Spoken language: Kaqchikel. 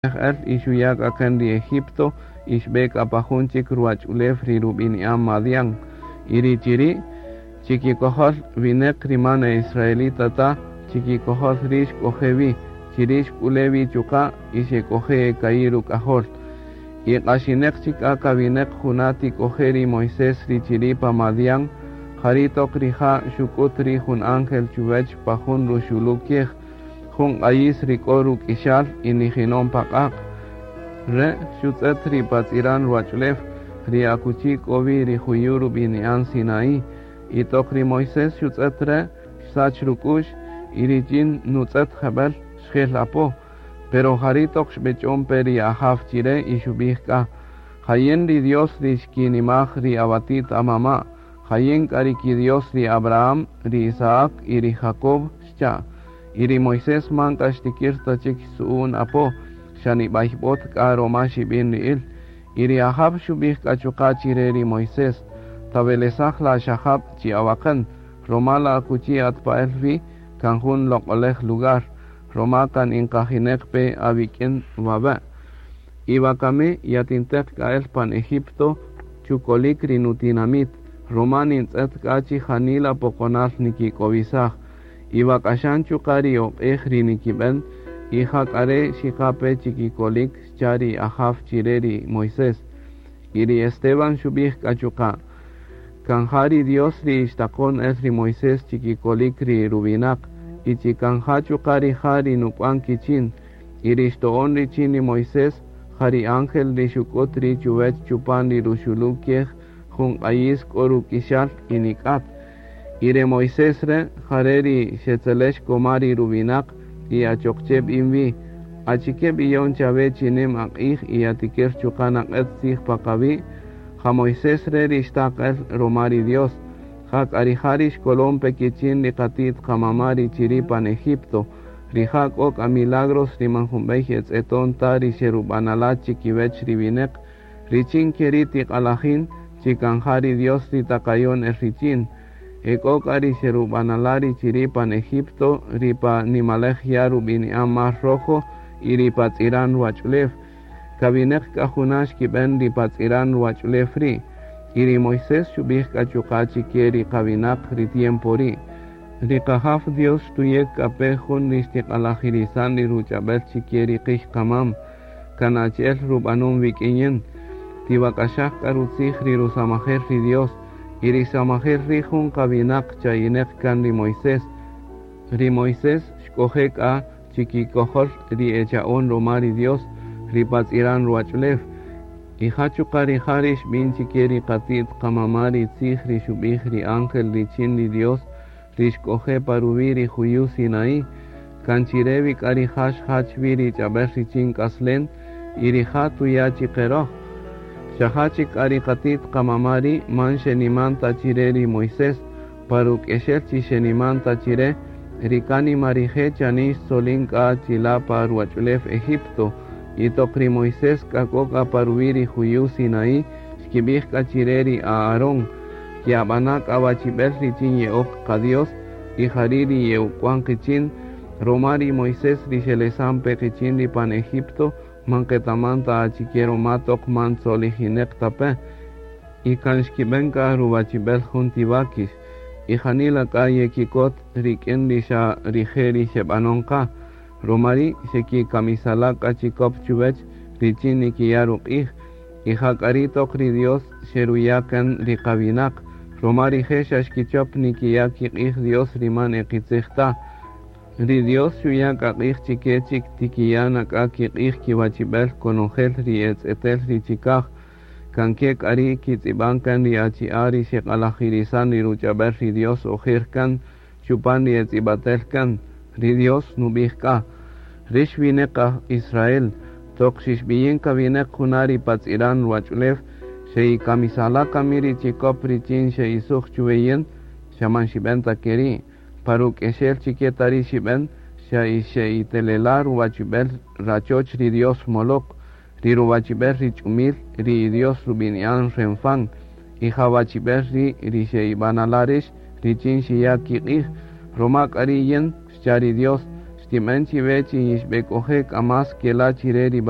El y xuya' k'a kan ri Egipto y xb'e k'a pa jun chik ruwach'ulew ri rub'ini'an Madián. Y ri chiri' chikikojol wineq ri man e israelita ta, chikikojol ri' xk'oje' wi, chiri' xk'ule' wi chuqa' y xek'oje' e ka'i' ruk'ajol. Y q'axineq chik k'a kawineq juna' tik'oje' ri Moisés ri chiri' pa Madián, jari' toq rija' xuk'ut ri' jun ángel chuwech pa jun ruxulu' kiej, jun q'ayis ri k'o ruk'ixal y nijinon pa q'aq'. Re' xutz'et ri pa tz'iran ruwach'ulew, ri akuchi k'o wi ri juyu' rub'ini'an Sinaí. Y toq ri Moisés xutz'et re', xsach ruk'u'x y richin nutz'et jeb'ël xjel apo. Pero jari' toq xb'ech'on pe ri Ajaw chi re' y xub'ij k'a, Ja yin ri Dios ri xkinimaj ri awati't amama', ja yin k'a ri ki-Dios ri Abraham, ri Isaac y ri Jacob, xcha'. Y ri Moisés man k'a xtikir ta chik xtzu'un apo, xa nib'ayb'ot k'a roma xib'in ri'il. Y ri Ajaw xub'ij k'a chuqa' chi re ri Moisés, Tawelesaj la xajab' chi awaqän, roma la akuchi at pa'el wi kan jun loq'olej lugar, roma kan inqajineq pe awik'in wawe'. Y wakami yatinteq k'a el pan Egipto chukolik ri nutinamit, roma nintz'et k'a chi janila poqonal nikik'owisaj. Y wak'axan chuqa' ri oq'ej ri nikib'en, y ja k'a re' xiqa pe chikikolik xcha' ri Ajaw chi re ri Moisés. Y ri Esteban xub'ij k'a chuqa', kan ja ri Dios ri xtaqon el ri Moisés chikikolik ri ruwinaq, y chi kan ja chuqa' rija' ri nuk'wan kichin, y ri xto'on richin ri Moisés, ja ri ángel ri xuk'ut ri' chuwech chupan ri ruxulu' kiej jun q'ayis k'o ruk'ixal y nik'at. Y re Moisés re' jare' ri xetzelex koma ri ruwinaq y achoq che b'in wi, achike b'iyon chawe chi nim aq'ij y yatikir chuqa' naq'et tzij pa qawi', ja Moisés re' ri xtaq el roma ri Dios, ja k'a rija' ri xkolon pe kichin ri qati't qamama' ri chiri' pan Egipto, rija' k'o k'a milagros ri man jun b'ey etz'eton ta ri xerub'anala' chikiwech ri wineq, richin keri' tiq'alajin chi kan ja ri Dios ri taqayon el richin. E k'o k'a ri xerub'anala' ri chiri' pan Egipto, ri pa nimalej ya' rub'ini'an Mar Rojo y ri pa tz'iran ruwach'ulew. Kawineq k'a juna' xkib'en ri pa tz'iran ruwach'ulew ri'. Y ri Moisés xub'ij k'a chuqa' chike ri qawinaq ri tiempo ri'. Ri qajaw Dios xtuyek k'a pe jun ri xtiq'alajirisan ri ruch'ab'el chike ri qij qamam, kan achi'el rub'anon wik'in yin. Tiwak'axaj k'a rutzij ri rusamajel ri Dios, y ri samajel ri' jun qawinaq chayineq kan ri Moisés. Ri Moisés xk'oje' k'a chikikojol ri echa'on roma ri Dios, ri pa tz'iran ruwach'ulew. Y ja chuqa' rija' ri xb'in chike ri qati't qamama' ri tzij ri xub'ij ri ángel richin ri Dios ri xk'oje' pa ruwi' ri juyu' Sinaí, kan chire wi k'a rija' xjach wi ri ch'ab'el richin k'aslen y rija' tuya' chiqe roj. Xa ja chik k'a ri qati't qamama' ri' man xeniman ta chire ri Moisés, pa ruk'exel chi xeniman ta chire, ri kánima rije' chanin xtzolin k'a chila' pa ruwach'ulew Egipto. Y toq ri Moisés k'a k'o k'a pa ruwi' ri juyu' Sinaí, xkib'ij k'a chire ri Aarón, ke'ab'ana' k'a wachib'el richin ye'ok qa-Dios y jari' ri ye'uk'wan qichin, roma ri Moisés ri xelesan pe qichin ri pan Egipto, man qetaman ta achike roma toq man tzolijineq ta pe. Y kan xkib'en k'a ruwachib'el jun ti wakix, y janila k'a yekikot rik'in ri xa rije' ri xeb'anon qa, roma ri' xekikamisala' k'a chikop chuwech richin nikiya' ruq'ij, y ja k'a ri' toq ri Dios xeruya' kan ri qawinaq, roma rije' xa xkichop nikiya' kiq'ij Dios ri man e qitzij ta. Ri Dios xuya' k'a q'ij chike chik tikiya' na k'a kiq'ij kiwachib'el konojel ri etz'etel ri chikaj, kan ke k'a ri' kitz'ib'an kan ri achi'a' ri xeq'alajirisan ri ruch'ab'el ri Dios ojer kan chupan ri etz'ib'atel kan. Ri Dios nub'ij k'a, Rix wineq aj Israel, toq xixb'iyin kawineq juna' ri pa tz'iran ruwach'ulew, xe'ikamisala' kami ri chikop richin xe'isuj chuwe yin, xa man xib'en ta keri'. Pa ruk'exel chike ta ri xib'en, xa xe'itelela' ruwachib'el rachoch ri Dios Moloc, ri ruwachib'el ri ch'umil ri Dios rub'ini'an Renfán, y ja wachib'el ri' ri xe'ib'anala' rix richin xiya' kiq'ij, roma k'a ri' yin, xcha' ri Dios, Xtinben chiwe chi yixbek'oje' k'a más kela' chire ri.